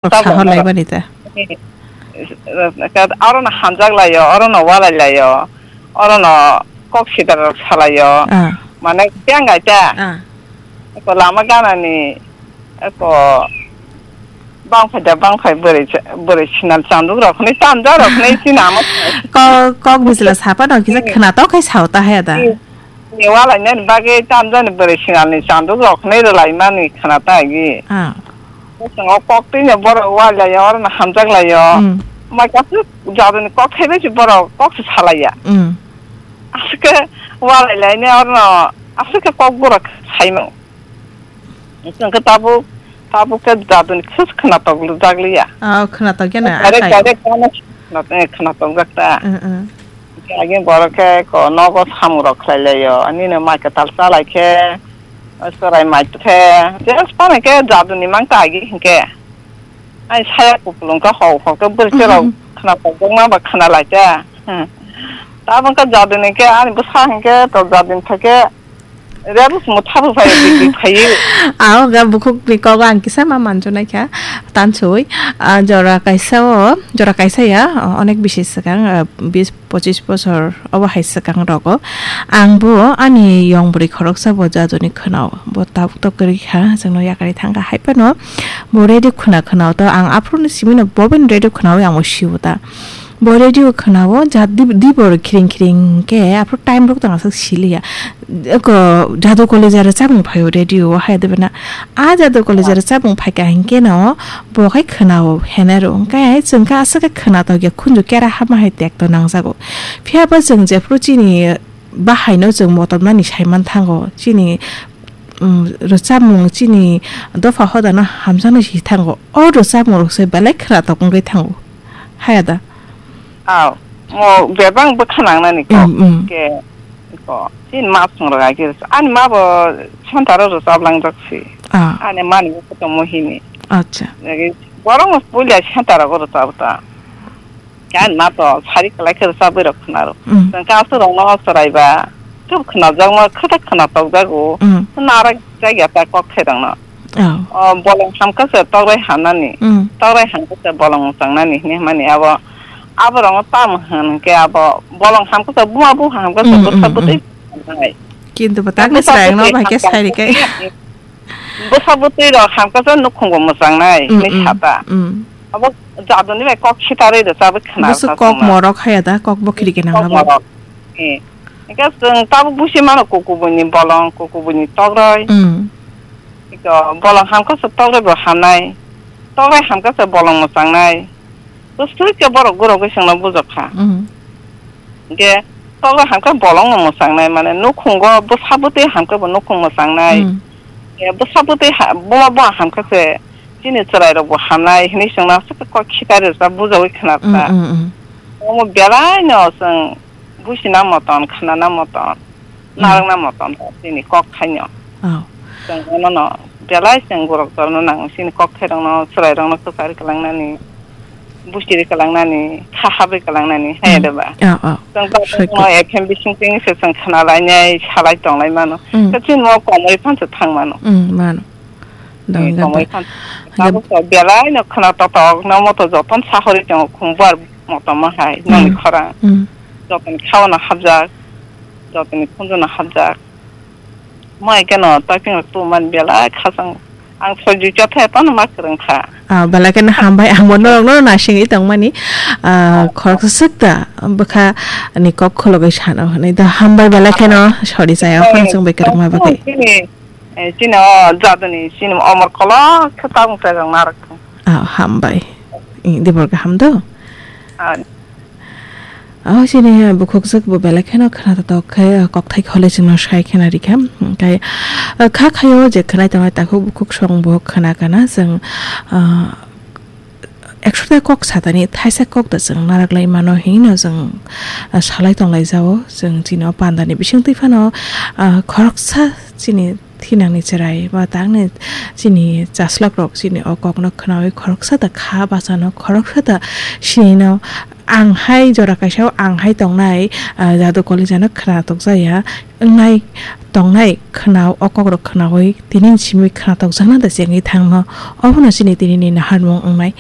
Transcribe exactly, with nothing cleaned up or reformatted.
Rok Tabuk saho lai mano. Bani ta. Oro no hamjak laio, oro no walai laio, oro no kok sida rok salaio. Ah. Mane tengai ta. Ah. Ko lama gana ni ko bang phai da bang phai bwrwi cha-, bwrwi sinal chanduk rok ni tamja rok ni sinama. Ko-, kok bisla sapa no kisa khna to khai sao ta haya da. Ni walai nani bagwi tamjani bwrwi sinal ni chanduk rok ni rwlai mani khna ta gi. Ah. Bwskango koktwino borok walaiya, orono hamjaklaio. Mm. Mai kasu jaduni kok thaibai se borok kok se salaiya. Mm. Aswkhe walailaini orono aswkhe kok borok saimung. Hwnkhe tabuk, tabuk khe jaduni khe khwnatok lwjakliya. Ah, khwnatok ya na, direct, akhai. Direct khwnatok, eh, khwnatok jak ta. Mm, mm. Agi borok khe ko nogo samung rok khlai laio. Ani no mai kwtal cha lai khe, chwrai mai khe, just phano khe jaduni mang ta agi hinkhe. Ai saya kupulung khe hok hok khe bwrwi rok khna pokjak ma ba khna lai khe. Hmm. Tabang khe jaduni khe ani bwsa hinkhe to jaduni thai khe rebus mo thabu phai dik dik phai. Aw ga bukhuk ni kogo ang kisa ma manjo nai kha. Tansoi, ah, jora kaisa o, jora kaisa ya, o, onek bisi swkang, ah, bis pochis bosor obo hai swkang rogo. Ang bo ani yong bwrwi khoroksa bo jaduni khwnao. Bo tabuk tok kwrwi kha, chwngno yakarwi thang kha. Hai phano bo radio khwna khwnao to ang aphuru ni simi no bo bini radio khwnawi ang bo sio ta. Bo radio khwnao ja di, di bor khiring khiring khe aphuru time rok tang aswk siliya. Eko jadu college rwchapmung phaio radio o hai de bana. A jadu college rwchapmung phaikha hinkhe no bo khai khwnao henero. Hwnkhe chwng khe aswk khe khwnatok ya khunju kera hama hai tekto nangjago. Phiya ba chwng jephuru chini bahaino chwng motom nani saiman thango. Chini, um, rwchapmung chini dopha hodano hamjaknai si thango. O rwchapmung rok se belai khwnatok wngwi thango. Haya da? Aw, mo bebak bwkha nangnani kok. Mm, mm. Ke, ko, chini ma song rok agi rwchap. Ani ma bo center o rwchap langjak si. Ah. Ani mani bo koto mohini. Acha. Agi borok no puila center o rwchap ta. Ani ma to sari kwlai khe rwchap bai rok khwna rw. Mm. Chwng kasu rok no chwrai ba. Khe khwnajakma, khe ta khwnatok jago. Mm. Narak jak ya ta kok khe rok no. Oh. O, bolong hamkha se tokrai hamnani. Mm. Tokrai hamkha se bolong mwchangnani hinwi hwnmani abo. Abo rokno tamo hwn hwnkhe abo bolong hamkha se buma buha hamkha se Mm, bwsa mm, bwtwi mm. Hamnai. Kintu bwtakni bwsa chwraino bwtwi bai khe hamkha sai rikha. Bwsa bwtwi rok hamkha se nukhung bo mwchangnai Mm, hinwi mm, sata. Mm. Abo jaduni bai kok sitarwi rwchabwi khwna Bwswk rwkha kok chwngno. Morok haya da, kok bo khirikhe nang Kok abo. Morok. Eh. Hingke chwng tabuk busi mano kukubuini bolong, kukubuini tokrai. Mm. Iko bolong hamkha se tokrai bo hamnai. Tokrai hamkha se bolong mwchangnai. Bwswk khe borok gurogwi chwngno bujokha. Mm. Hingke tokrai hamkha bolong no mwchangnai, mane nukhungo bwsa bwtwi hamkha bo nukhung mwchangnai. Mm. Hingke bwsa bwtwi ha-, buma buma hamkha se chini chwrai rok bo hamnai hinwi chwngno aswk kok khitai rwchap bujawi khna Mm, rwchap. Mm, mm. Omo belai no chwng Buisina motom, khanana motom, Hmm. narwkna motom, chini kok thaino. Oh. Chwng onono belai chwng borok torna nango, chini kok thairokno, chwrairokno kwchari kwlangnani, buchiri kwlangnani, kha habwi kwlangnani, hai Hmm. de ba? Oh, oh. Chwng Soi tabukno kok. F M bising tini se chwng khna lainai, salai tonglai mano. Hmm. Khe chini mo komoi phan se thang mano. Hmm, mano. Eh, Dong komoi dong. Phan. Hingke Tabuk to belai no khna totok, no moto joton sahori tongo, khumbar motom hai, noni Hmm. khorang. Hmm. Jotoni khao no hapjak, jotoni khunju no hapjak. Mo hai khe no typing rok tu man belai khasang. Ang soi jui chotha phano ma kwrwng kha. Ah, belai kheno hambai, ang bo norok no nasingwi tongmani. Ah, khoroksa swk da bwkha ni kok khulogwi sano hwnwi da hambai belai kheno sori chaya phano chwng bai kwrwngma bagwi. Chini, eh, chini o jaduni, chini omor kolok khe tabuk chajak narwk thung. Ah, hambai. I, dibor kaham do? Ah. Oh, chini bukhuk swk bo belai kheno khna totok khe, kokthai khole chwngno sai khena rikha. Hwnkhe, ah, kha khaio je khwnai tongnai takhuk bukhuk song bo khna kana chwng, ah, ekso ta kok satani thaisa kok da chwng narak lai mano hinwi no chwng, ah, salai tonglai jao. Chwng chini o pandani bising twi phano, ah, khoroksa chini thinangni chwrai ba tangni chini chaslok rok chini o kokno khnaui khoroksa da kha bachano khoroksa da sinino ang hai jora kaisa o ang hai tongnai, ah, Jadu Kalijano khwnathokjakya wngnai tongnai khwna o kokrok khwnawi tini simi khwnathokjakna da se wngwi thangno. Obono chini tinini naharmung wngnai.